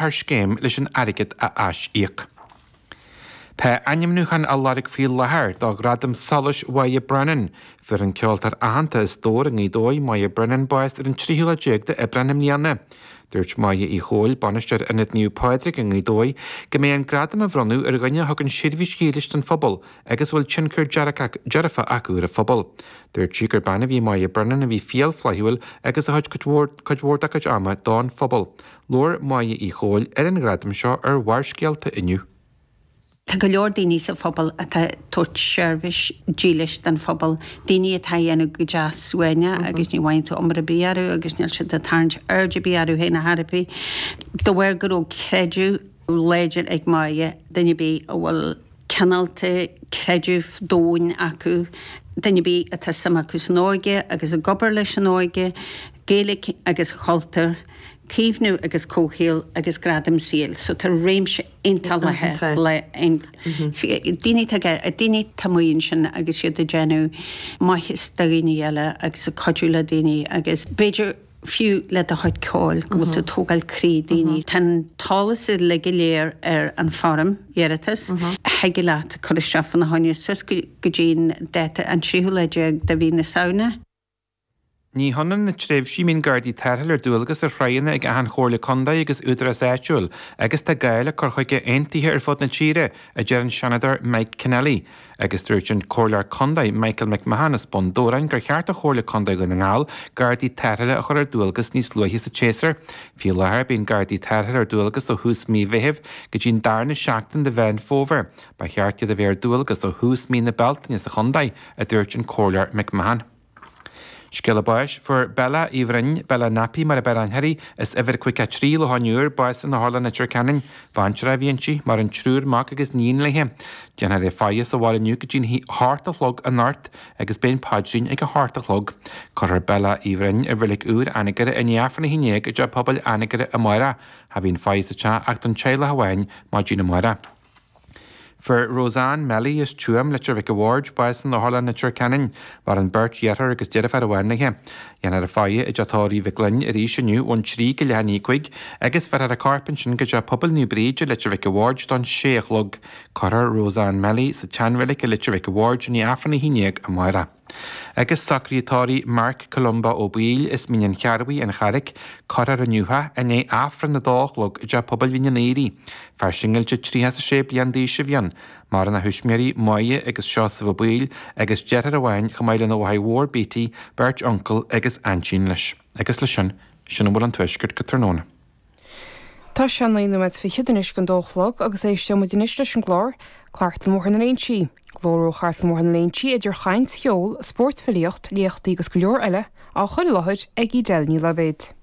Thar scéim leis an airgead a ais-íoc. Tá ainmniúcháin á lorg faoi láthair do Ghradam Solais Mháire Brennan. Fuair an ceoltóir aitheanta as Dobhar i nGaoth Dobhair, Máire Brennan, bás ar an tríú lá déag d'Aibreán i mbliana. Dúirt Máire Uí Chomhaill, bainisteoir Ionad Naomh Pádraig i nGaoth Dobhair, go mbeidh an gradam á bhronnadh ar dhuine a thugann seirbhís dhílis don phobal agus a bhfuil tionchar dearfach acu ar an phobal. Dúirt sí gur bean a bhí i Máire Brennan a bhí fial flaithiúil agus a thug cuid mhór dá cuid ama don phobal. Labhair Máire Uí Chomhaill ar an ghradam seo ar Bharrscéalta inniu. Tá go leor daoine sa phobal atá ag tabhairt seirbhís dílis don phobal, daoine atá a dhéanamh go deas suaimhneach agus ní bhfaigheann tú iomaire ar bith orthu agus níl siad ag tarraingt aird ar bith orthu féin ar chor ar bith. De bharr go raibh creideamh láidir ag Máire, duine ar bith a bhfuil cineálta creideamh domhain acu, duine ar bith atá suim acu san óige agus ag obair leis an óige, Gaeilge agus cultúr, caomhnú agus comhshaol agus gradaim saoil. So tá réimse iontach leathan le daoine atá daoine atá amuigh ansin agus iad ag déanamh maitheas do dhaoine eile agus ag cuidiú le daoine agus b'fhéidir fiú le do chuid ceoil go bhfuil tú ag tógáil croí daoine. Tá an t-eolas uilig go léir ar an foirm iarratais. Thig leat cur isteach fána choinne suas go dtí an dáta an tríú lá déag de mhí na Samhna. Ní hionann na tréimhsí a mbíonn Gardaí Tarrthála ar dualgas ar thráigheanna ag achan Chomhairle Contae agus Údarás Áitiúil agus tá gá le cur chuige aontaithe ar fud na tíre, a deir an Seanadóir Mike Kennelly. Agus dúirt an Comhairleoir Contae Michael McMahon as Bun Dobhráin gur cheart do Chomhairle Contae Dhún na nGall Gardaí Tarrthála a chur ar dualgas níos luaithe sa tséasúr. Faoi láthair bíonn Gardaí Tarrthála ar dualgas ó thús mí Mheithimh go dtí an darna seachtain de Mheán Fómhair. Ba cheart iad a bheith ar dualgas ó thús mí na Bealtaine sa chontae, a dúirt an Comhairleoir McMahon. Scéala báis, Fuair Bella Uí Bhroin, Bella Nappy mar ab fhearr aithne uirthi, as uimhir 53 Loch an Iúir, bás in Otharlann Leitir Ceanainn. Baintreach a bhí inti, maireann triúr mac agus níon léi. Déanfar í a faire sa bhaile inniu go dtí'n hocht a chlog anocht agus beidh an paidrín ag a hocht a chlog. Cuirfear Bella Uí Bhroin i Reilig Úr Anagaire i ndiaidh Aifreann a 11 i dTeach Pobail Anagaire amárach. Cha bhíonn faire sa teach ach don teaghlach amháin maidin amárach. Fuair Roseanne Melly as Tuaim, Leitir Mhic a' Bhaird, bás in Otharlann Leitir Ceanainn. Maireann beirt dheartháir agus deirfiúr amháin léi. Dhéanfar a faire i dteach tórraimh Mhic Fhloinn arís inniu ón 3 go leath i ndiaidh 5 agus bheirfear a corp ansin go Teach Pobail Naomh Bríd i Leitir Mhic a' Bhaird don sé a chlog. Cuirfear Roseanne Melly sa tseanreilig i Leitir Mhic a' Bhaird i ndiaidh Aifreann 11 amárach. Agus socruithe tórraimh Mark Columba Ó Baoill as Mín an Chearrbhaigh, An Charraic, cuirfear inniu é i ndiaidh Aifreann a dó a chlog i dTeach Pobail Mhín an Aoraigh. Fear singilte 36 bliain d'aois a bhí ann. Maireann a thuismitheoirí, Máire agus Seosamh Ó Baoill, agus deartháir amháin chomh maith lena mháthair mhór Beattie, beirt uncail agus aintín leis. Agus leis sin, sin a bhfuil ón Tuaisceart go tráthnóna. Tá sé 9 nóiméad fichead anois don dó a chlog agus éisteoidh muid anois leis an gclár, Cartlann Bhóthar na Léinsí. Glór ó Chartlann Bhóthar na Léinsí idir chaint, cheol, spórt, filíocht, léachtaí agus go leor eile, á chur i láthair ag Edel Ní Loibhéad.